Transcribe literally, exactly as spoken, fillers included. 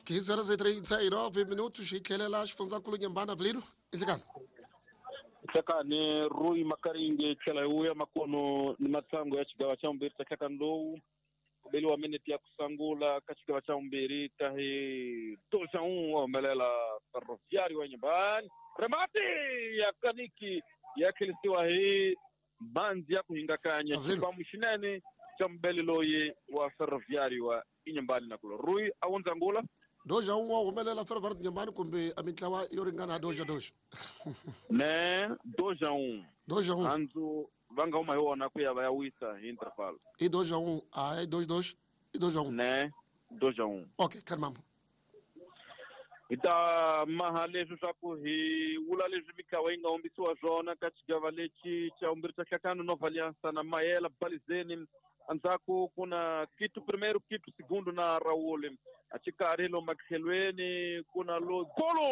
quinze horas e trinta e nove minutos hi tlhelela xifundzankulu Nyembani Avelino i nhlikani Hlekani Rui Makaringe tlhela hi vuya makono ni matsango ya xigava xa vumbirhi xa nhlekani lowu ku beliwa minete ya ku sungula ka xigava xa vumbirhi ta hi dois a um wa humelela Ferroviário wa Nyembani remati ya kaniki ya tlherisiwa hi mhandzi ya ku hingakanya Avelino. xibamu xinene xa mubeli loyi wa Ferroviário wa Inyembani na kulo Rui a wundzangula dois a um wa humelela Ferroviário de Nyembani kumbe a mintlawa yo ringana dois a dois ne dois a um dois a um handzu va nga huma hi wona ku ya va ya wisa hi interval i dois a um a i dois dois i dois a um ne dois a um ok kalmambo hi ta maha leswi swa ku hi vula leswi mitlawa yi nga humbisiwa swona ka xigava lexi xa vumbirhi xa nhlakano Nova Aliança na Mayela Balizeni endzhaku ku na Quito primeiro Quito segundo na Raul a xikarhi lomu matlhelweni ku na lo golo